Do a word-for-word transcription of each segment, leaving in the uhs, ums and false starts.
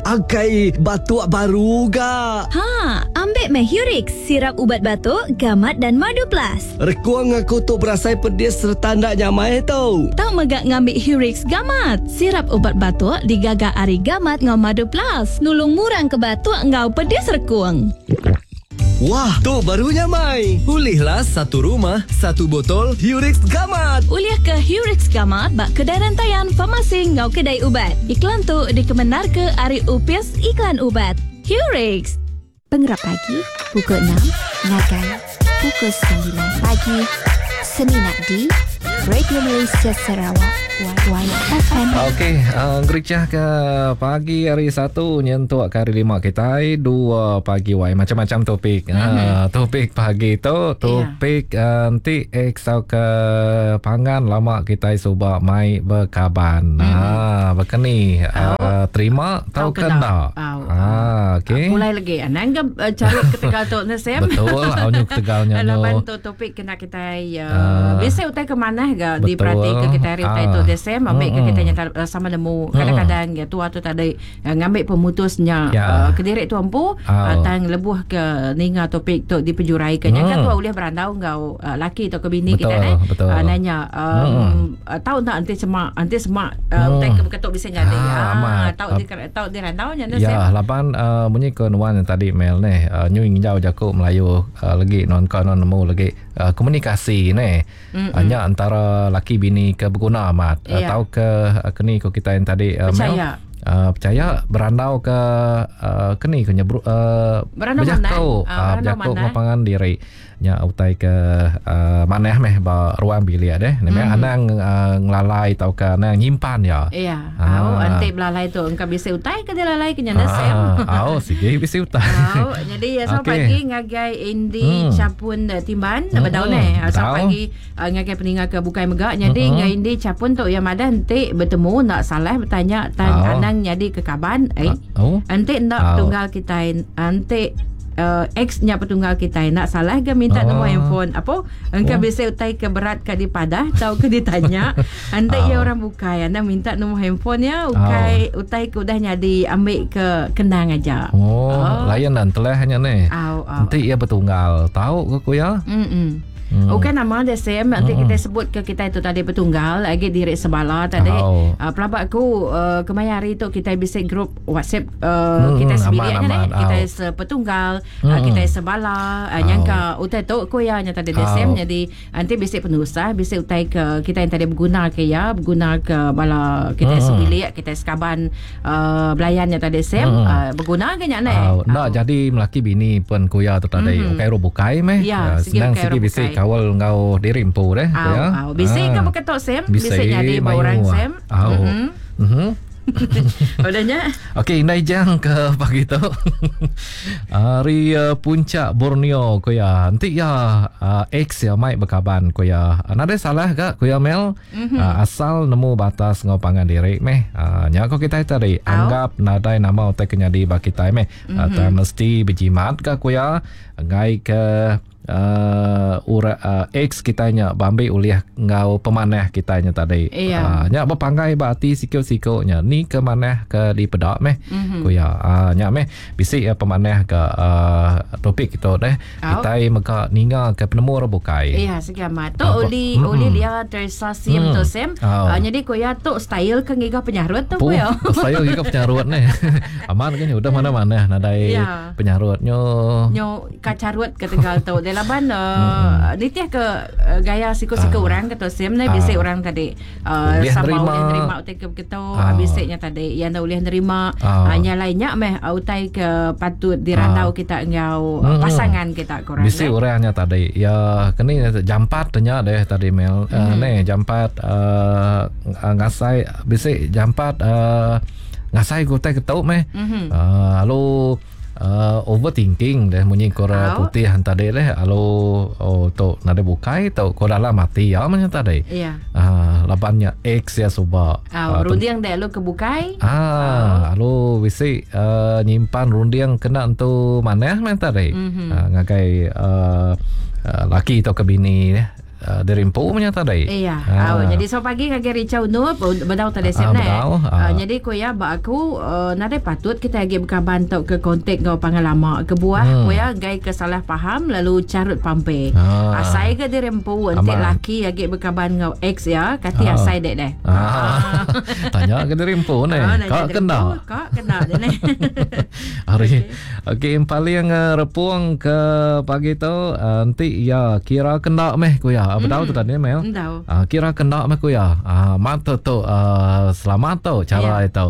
Akai batuk baru ga. Ha, ambil meh Hurix, sirap ubat batuk, gamat dan madu plus. Rekuang aku tu berasai pedis serta ndak nyamai tu. Tau megak ngambil Hurix gamat. Sirap ubat batuk digaga ari gamat ngau madu plus. Nulung murang ke batuk ngau pedis rekuang. Wah, tu baru nyamai. Ulihlah satu rumah, satu botol Hurix Gamat. Ulih ke Hurix Gamat bak kedai rantaian farmasi ngau kedai ubat. Iklan tu dikemenar ke ari Upis Iklan ubat. Hurix. Pengerap pagi pukul enam ngagai pukul sembilan pagi Seminat di Radio Malaysia Sarawak Y F M. Okey, uh, gericah ke pagi hari satu nyentuk ke hari lima kita dua pagi Y macam-macam topik. Mm-hmm. Uh, topik pagi tu topik yeah. uh, nanti ex ke pangan lama kita subak mai berkaban. Mm-hmm. Ah, berkeni uh, terima tau ke ndak. Ah, okey. Mulai lagi anang ke uh, carut ke Tegal tu ne Sam. Betul, au Tegalnya no. Laban tu topik kena kita uh, biasa utai ke mana ga diperhati ke kita hari utai tu Desem ambil ke kita nyata sama nemu kadang-kadang ya tua tu tadi ngambil pemutusnya ya. uh, kedirik tu empu oh. uh, tang lebuh ke ninga topik tu dipejurai ke hmm. kan tua boleh berandau ngau uh, laki atau ke bini betul, kita ne uh, nanya um, hmm. uh, tahu tak nanti semak nanti semak uh, utai ke ketuk bisa jadi ah, tahu di tahu di randau nya ne ya laban uh, munyi ke nuan yang tadi Mel ne uh, nyu nginjau jaku Melayu uh, lagi non kon non nemu lagi uh, komunikasi ne hanya uh, antara laki bini ke berguna amat. Ya. Atau ke keni ko kita yang tadi uh, percaya. Mel, uh, percaya berandau ke uh, keni ke nyebru uh, berjakau uh, berjakau ngapangan diri nya utai ke uh, maneh meh ba ruang bilik deh mm. memang anang uh, ngelalai tau ke anang nyimpan ya. Iya. Au anti belalai tu engka bisi utai ke dilalai ke nyanda Sam. Au sige bisi utai. Au jadi ya so okay. Pagi ngagai Indi hmm. Capun Timban hmm. bedau ne. So pagi uh, ngagai peninga ke bukai mega jadi hmm. ngai Indi Capun tu ya madah enti bertemu nak salah bertanya tan anang jadi ke kaban eh. Oh. Enti ndak tunggal kita enti Uh, ex nya petunggal kita nak salah ke minta oh. nombor handphone apa engkau oh. bisa utai ke berat ke dipadah atau ke ditanya anda oh. ya orang bukai anda minta nombor handphone ya ukai oh. utai ke udah nyadi ambil ke kenang aja oh, oh. Layan dan telah hanya ni oh, oh. Nanti ia bertunggal tahu ke ku ya mm. Hmm. Okey nama dia Sam nanti hmm. kita sebut ke kita itu tadi petunggal lagi diri sebala tadi oh. uh, pelabak aku uh, kemaya hari tu kita bisa grup WhatsApp uh, hmm, kita sebilik aman, kan aman, eh? Kita sepetunggal hmm. uh, kita sebala uh, oh. nyangka utai tu ku ya nya tadi dia Sam oh. jadi nanti bisa penusah bisa utai ke kita yang tadi berguna ke ya berguna ke bala kita hmm. sebilik kita sekaban uh, belayannya tadi Sam hmm. uh, berguna ke nya ne oh. Nak jadi melaki bini pun ku ya tu tadi hmm. ukai ro bukai meh ya, uh, senang segi bisa kawal ngau diri empu deh au, ya. Au. Bisi ah. ke beketok Sam? Bisi jadi orang Sam. Au. Mhm. Mhm. Udahnya. Okey, indai jang ke pagi tu. Hari uh, puncak Borneo ko ya. Nanti ya uh, ex ya mai berkaban ko ya. Nada salah ke ko ya Mel? Mm-hmm. Uh, asal nemu batas ngau pangan diri meh. Uh, nya ko kita tadi Au. Anggap nadai nama utai kenyadi bagi kita meh. Mm-hmm. Uh, tak mesti berjimat ke ko ya. Ngai ke Uh, ura, uh, ex kitanya bambi uliah ngau pemanah kitanya tadi. Iya. Uh, nya berpanggai berarti sikok-sikoknya ni ke manah ke di pedak meh. Mm-hmm. Ku ya. Uh, nya meh bisi uh, pemanah ke uh, topik kita deh. Au. Kita mega ninga ke penemu orang bukai. Iya, segamat. Tu Apa? oli Mm-mm. oli dia Teresa Sim Mm. tu Sam. Au. Uh, jadi ku ya tu style ke ngiga penyarut tu Puh, ku ya. saya ngiga penyarut ni. Aman kan udah mana-mana nadai Ya. penyarutnya. Nyo kacarut ke Tegal tu. Dia laban uh, nitih ke uh, gaya siku-siku Ah. orang kata Sam ni bisi Ah. orang tadi uh, Boleh sama nerima. boleh nerima utai ke begitu Ah. bisiknya tadi yang dah boleh nerima Ah. uh, nya lainnya meh uh, utai ke patut dirandau Ah. kita ngau uh, Mm-mm. pasangan kita korang Bisi eh. orangnya tadi. Ya kini jampat tanya deh tadi Mel. Mm-hmm. Uh, ne jampat uh, ngasai bisi jampat uh, ngasai ku utai ketuk meh. Mhm. Uh, lalu uh, overthinking deh munyi kora Au. putih tadi deh. Lalu oh tu nade bukai tu ko dalam mati ya macam tadi. Ya. Uh, labannya ex ya suba. Ah, Ah, runding deh lu ke bukai. Ah, lalu bisi uh, nyimpan runding kena entu manah meh tadi. Mhm. Uh, ngagai uh, uh, laki atau ke bini eh. uh, dirimpu punya tadi. Iya. Ah. Oh, jadi so pagi ngagai Richard Nur bedau tadi sem ah, bedau, ah. Uh, jadi ku ya ba aku uh, nadai patut kita lagi berkaban tau ke kontak ngau pangan lama ke buah hmm. ku ya gai ke salah faham lalu carut pampe. Ah. Asai ke dirempu enti laki lagi berkaban ngau ex ya kati ah. asai dek deh. Ah. Tanya ke dirempu ne. Kak kena. Kak kena je ne. Hari. Okey paling uh, repung ke pagi tu uh, enti ya kira kena meh ku ya. Bedau tu tadi Mel. Uh, kira kena meh ku ya. Uh, mata tu uh, selamat tu cara yeah. itu.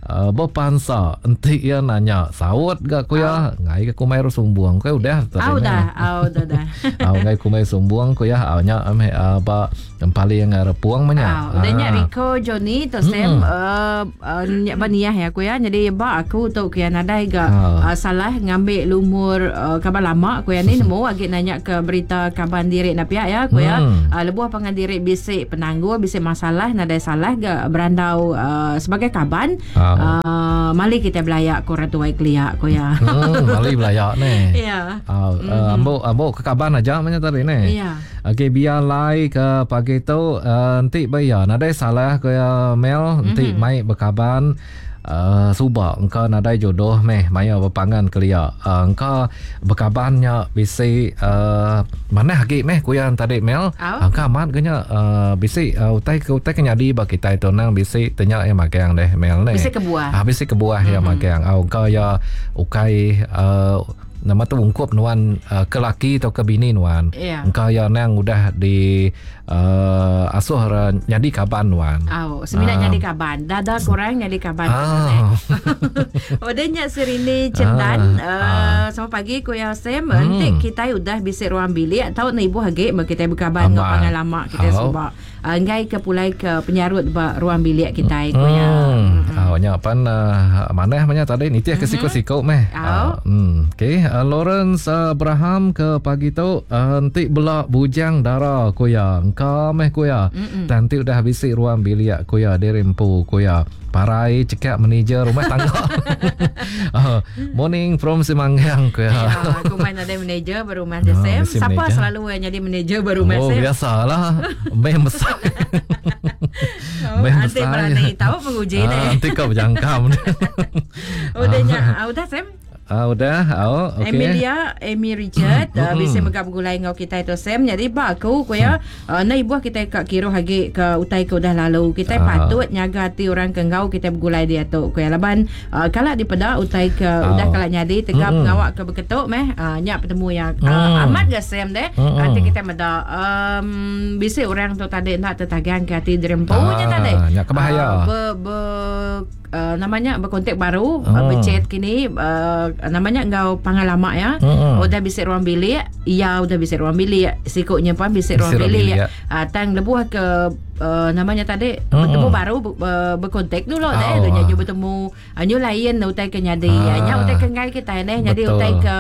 Uh, berpansa enti ia nanya saut gak ku ya ngai ke kumai sumbung ku udah tadi. Au dah, au dah dah. Au ngai kumai sumbung ku ya au nya meh ba paling repuang menya. Udah nya Rico Johnny tu Sam uh, nya baniah ya ku ya. Jadi ba aku tu ku ya nadai ga uh, salah ngambil lumur uh, kaban lama ku ya ni nemu agi nanya ke berita kaban diri na pihak ya ku ya. Uh, lebuh pangan diri bisik penanggul bisik masalah nadai salah ga berandau uh, sebagai kaban. Uh, mali kita belayak ko ratuai keliak ko ya. Hmm, mali belayak ni. Ya. Uh, uh, ambok ambok ke kaban aja macam tadi ni. Ya. Okey biar lai ke pagi tu uh, nanti bayar nadai salah ko ya Mel nanti mm-hmm. mai berkaban. Uh, subak engkau nadai jodoh meh maya berpangan kelia uh, engkau berkabannya bisi uh, mana lagi meh kuyan tadi Mel oh. Engkau amat kenya uh, bisi uh, utai ke utai kenyadi ba kita itu nang bisi tanya yang magang deh Mel ni bisi kebuah ah bisi kebuah mm-hmm. ya magang au engkau ya ukai uh, nama tu ungkup nuan uh, ke laki atau ke bini nuan. Yeah. Engkau ya nang udah di uh, asuh uh, nyadi kaban nuan. Oh, sembilan uh. nyadi kaban. Dada kurang nyadi kaban. Ah. Udah nyak Serini Cendan. Ah. Uh, uh. Selamat pagi ku ya Sam. Hmm. Nanti kita udah bisik ruang bilik tau na ibu hagi mak kita berkaban ngau pangan lama kita oh. sebab uh, enggai ke pulai ke penyarut ba ruang bilik kita ku ya. Hmm. Oh, nya pan uh, manah banyak tadi nitih ke siku-siku meh. Oh. Uh, hmm. Okey. Uh, Lawrence Abraham ke pagi tu uh, nanti belak bujang dara ku ya. Engkau meh ku ya. Nanti udah bisik ruang bilik ku ya dirempu ku ya. Parai cekak manager rumah tangga. uh, morning from Simanggang ku ya. Ya, aku main ada manager baru rumah oh, Sam. Siapa selalu yang jadi manager baru rumah oh, Sam? Oh, biasalah. Meh besar. Oh, Meh nanti besar. Berani tahu penguji Ah, ni. nanti kau berjangkam. Udah nya, udah Sam. Ah, udah, oh, okey. Emilia, Amy Richard, uh, bisa megap gulai ngau kita itu Sam. Jadi ba aku ku ya, uh, na ibuah kita kat kira hagi ke utai ke udah lalu. Kita Ah. patut nyaga hati orang ke ngau kita bergulai dia tu ku ya. Laban uh, kalak dipeda utai ke Ah. udah kalak nyadi tegap Mm-mm. ngawak ke beketuk meh, uh, nyak bertemu yang uh, Mm. amat ga Sam deh. Mm-mm. Nanti kita meda um, bisa orang tu tadi nak tertagang ke hati dirempunya Ah, tadi. nyak kebahaya. Uh, ber, ber Uh, namanya berkontak baru Oh. uh, berchat kini uh, namanya engkau pangan lama ya. Mm-mm. Udah bisik ruang bilik, ya udah bisik ruang bilik, sikuknya pun bisik ruang Bisik ruang bilik. bilik, Ah, tang lebuh ke uh, namanya tadi Mm-mm. bertemu baru uh, berkontak dulu Oh. deh, dunya nyu bertemu. Uh, nyu lain utai ke nyadi. Ah. Nya utai ke ngai kita neh jadi Betul. utai ke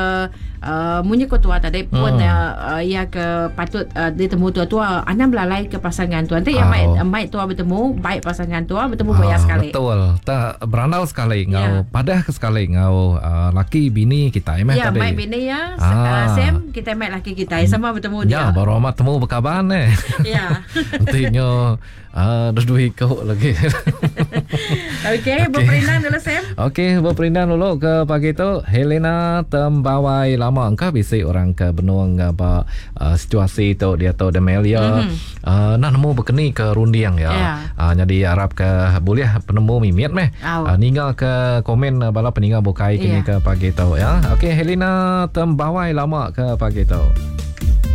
uh, munyi ko tua tadi pun Mm. uh, uh, ya ke patut uh, ditemu tua-tua anam belalai ke pasangan tua. Nanti yang Oh. mai mai tua bertemu, baik pasangan tua bertemu boya Ah, sekali. Betul. Tak berandau sekali ngau Ya. padah ke sekali ngau uh, laki bini kita meh Ya, tadi. mai bini ya. Ah. Ah. Sam, kita mai laki kita. Sama bertemu dia. Ya, baru amat temu berkaban eh. Ya. Nanti nyo uh, dua ikut lagi. Okey, okay, berperindang dulu Sam. Okey, berperindang dulu ke pagi tu Helena Tembawai lama engkau bisik orang ke benung ba uh, situasi tu dia tu Demelia mm-hmm. uh, nak nemu berkeni ke rundiang ya. Ya. Uh, jadi harap ke boleh penemu mimit meh. Au. Uh, ninga ke komen uh, bala peninga bukai kini Ya. ke pagi tu ya. Okey, Helena Tembawai lama ke pagi tu.